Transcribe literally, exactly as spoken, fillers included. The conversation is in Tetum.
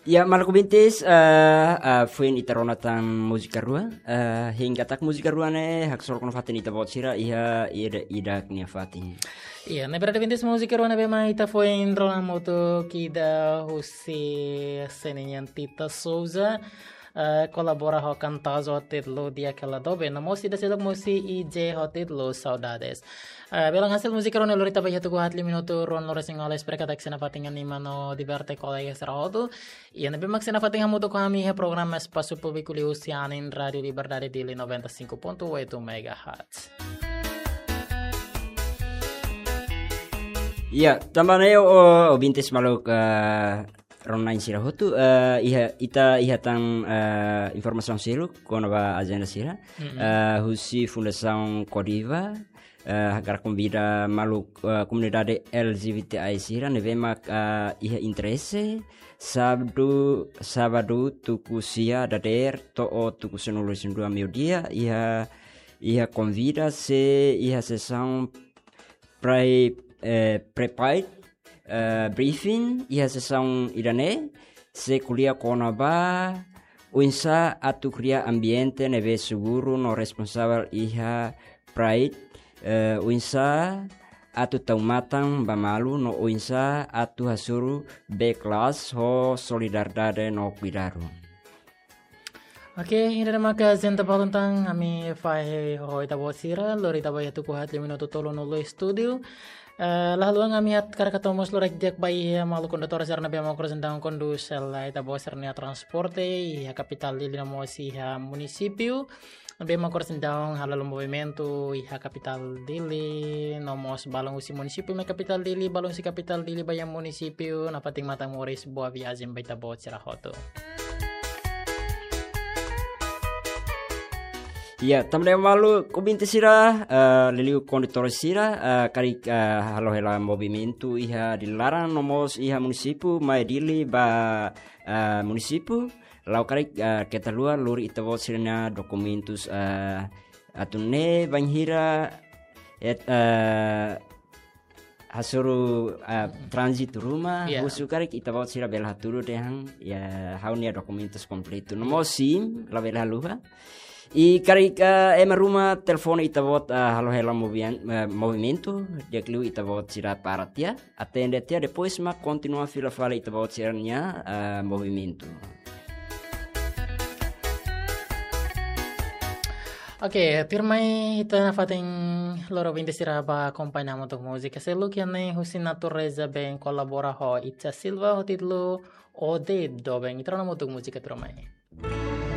Ya, maluk ouvintes, eh, eh, foin ita rona tan múzika rua. Eh, hein katak múzika rua ne'e haksolok ona fatin ita-boot sira iha ida, ida-idak nia fatin. Iya, ne'e verdade ouvintes, múzika rua ne'ebé mak ita foin rona hamutuk ida husi sene nian Tita Souza, eh, kolabora ho kantazo ho títulu Di'ak Hela Doben, no mós ida seluk husi I J ho títulu Saudades. Eh, belun hasil múzika rua ne'e lori ita ba iha tuku haat liu minutu ruanulu-resin-oan, espera katak sei nafatin anima no diverte kolega sira hotu. Iha ne'ebé mak sei nafatin hamutuk ho ami iha programa Espasu Públiku liuhusi anin Rádio Liberdade Dili noventa e cinco ponto oito megahertz. Ya, tanba ne'e, o, ouvintes maluk, eh, rona-na'in sira hotu, eh, iha, ita iha tan, eh, informasaun seluk kona-ba ajenda sira. Mm-mm. Eh, husi Fundasaun Kodiva, eh, hakarak konvida maluk, eh, komunidade L G B T I sira ne'ebé mak, eh, iha interese, sábadu, sábadu tuku sia dadeer to'o tuku sanulu-resin-dua meiudia, iha, iha konvida sei iha sesaun pre-, eh, pre-Pride, eh, briefing iha sesaun ida-ne'e, sei ko'alia kona-ba oinsá atu kria ambiente ne'ebé seguru no responsavel iha Pride, eh, oinsá atu tau matan ba malu no oinsá atu hasoru bee klaas ho solidariedade no kuidadu. Oke, ida-ne'e maka ajenda ba ohin tan, ami fahe ho ita-boot sira, lori ita ba iha tuku haat liu minutu tolunulu estúdiu. Eh, la haluha ami hakarak hato'o mós lorokraik di'ak ba iha maluk kondutór sira ne'ebé mak oras ida-ne'e kondús hela ita-boot sira-nia transporte iha kapitál Dili no mós iha munisípiu. Ne'ebé mak oras ida-ne'e halo movimentu iha kapitál Dili, no mós balun husi munisípiu mai kapitál Dili, balun husi kapitál Dili ba iha munisípiu, nafatin matan moris, boa viajen ba ita-boot sira hotu. Ya, tanba ne'e maluk ouvintes sira, eh, liuliu kondutór sira, eh, karik, eh, halo hela movimentu iha Dili laran no mós iha munisípiu, mai Dili ba, eh, munisípiu, la'o karik, eh, keta haluha lori ita-boot sira-nia dokumentus, eh, atu nune'e bainhira, et, eh, hasoru, eh, tránzitu ruma, iya, husu karik ita-boot sira bele hatudu dehan, ya, ha'u-nia dokumentus kompletu. No mós SIM, labele haluha. I karik, eh, ema ruma telefone ita-boot, eh, halo hela movian-, eh, movimentu, di'ak liu ita-boot sira para tiha, atende tiha, depois mak kontinua fila fali ita-boot sira-nia, eh, movimentu. Oke, tuirmai ita nafatin lori ouvinte sira ba akompaña hamutuk múzika seluk iha ne'e husi Natureza Band kolabora ho Itza Silva ho títulu Ode Doben. Ita rona hamutuk múzika tuirmai.